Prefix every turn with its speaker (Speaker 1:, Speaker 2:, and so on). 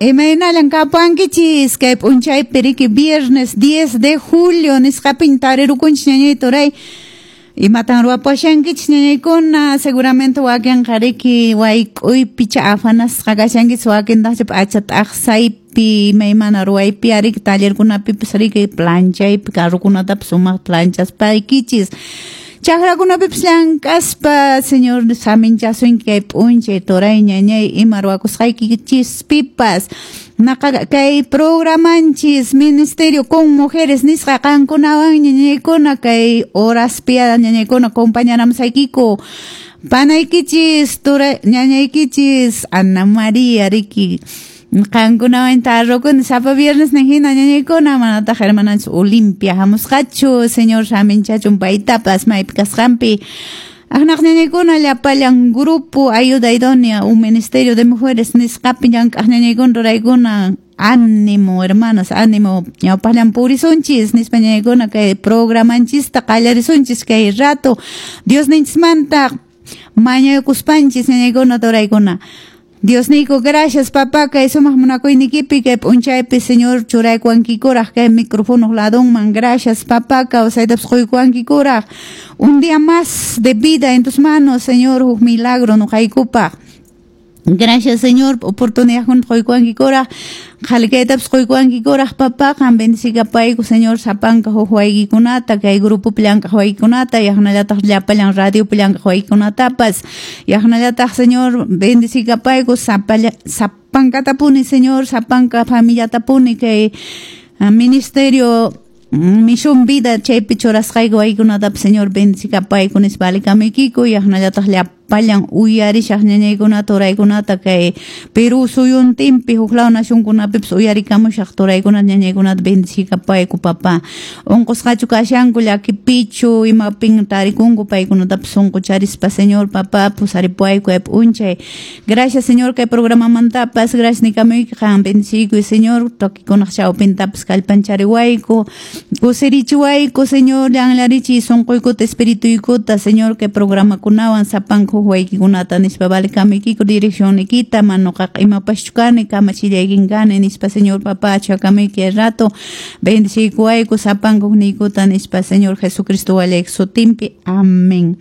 Speaker 1: Imaynallan kapuankichis kay p'unchaypi riki viernes 10 de julio nisqapin tarirukunchis ñañay turay. Imatan ruwapushankichis ñañaykuna, seguramente wakinqa riki wayk'uypi afanasqa kashankichis, wakintaqcha p'acha t'aqsaypi imaymana ruwaypi riki tallerkunapipas riki planchaypi carrokunatapas sumaq planchaspaykichis. Chakrakunapipis llank'aspa, Señor saminchasunki kay p'unchay turay ñañay ima ruwakusqaykichispipas. Naqa kay programanchis Ministerio con Mujeres nisqa qankunawan ñañaykuna kay horaspi ñañaykuna compañaramsaykiku. Panaykichis turay ñañaykichis Ana María riki qankunawan tarrukuni sapa viernes hina ñañaykuna manataq hermananchis Olimpia hamusqachu, Señor saminchachun paytapas maypi kasqanpi. Aqnaq ñañaykuna llapallan grupo Ayuda Idónea un Ministerio de Mujeres nisqapi llank'aq ñañaykuna ruraykuna ánimo hermanas, ánimo ñawpaqllan purisunchis nispa ñañaykuna kay programanchista qallarisunchis kay rato Dios ninchismanta mañakuspanchis ñañaykuna turaykuna. Dios nico, gracias papá, kay sumaq munakuynikipi kay p'unchaypi Señor churaykuwankikuraq kay micrófono ladonman, gracias papá, kawsaytapas quykuwankikuraq. Un día más de vida en tus manos, Señor, huk milagro nuqaykupaq. Gracias, Señor, oportunidad quykuwankikuraq, qhalikaytapas quykuwankikuraq, papá, qan bendicikapayku, Señor, sapanka huk waykikunata, kay grupopi llank'aq waykikunata, yaqnallataq llapallan radiopi llank'aq waykikunatapas, yaqnallataq, Señor, bendicikapayku, sapankatapuni, Señor, sapanka familiatapuni, kay ministerio Misión Vida chaypi churasqayku waykikunatapas, Señor, bendicikapayku nispa alikamaykiku, yaqnallataq llapallan uyarishaq ñañaykunata turaykunata kay Perú suyuntinpi huk law nacionkunapipas uyarikamushaq turaykunata ñañaykunata bendicikapayku papá. Unqusqachu kashanku llakipichu imapin tarikunku paykunatapas sunqucharispa, Señor, papá, pusaripuayku kay p'unchay. Gracias, Señor, kay programamantapas, gracias nikamuyki qan bendiciykuy, Señor, tokikunaq chawpintapas kallpanchariwayku, kusirichiwayku, Señor, llanllarichiy sunquykuta espirituykuta, Señor, kay programakunawan sapanka huk waykikunata nispa valikamuykiku direccionnikita, manuqaqa imapaschu kani kamachillaykin kani nispa, Señor, papá, chakamuyki rato bendiciykuwayku sapanka hukniykuta nispa, Señor Jesucristo walayki sutinpi. Amén.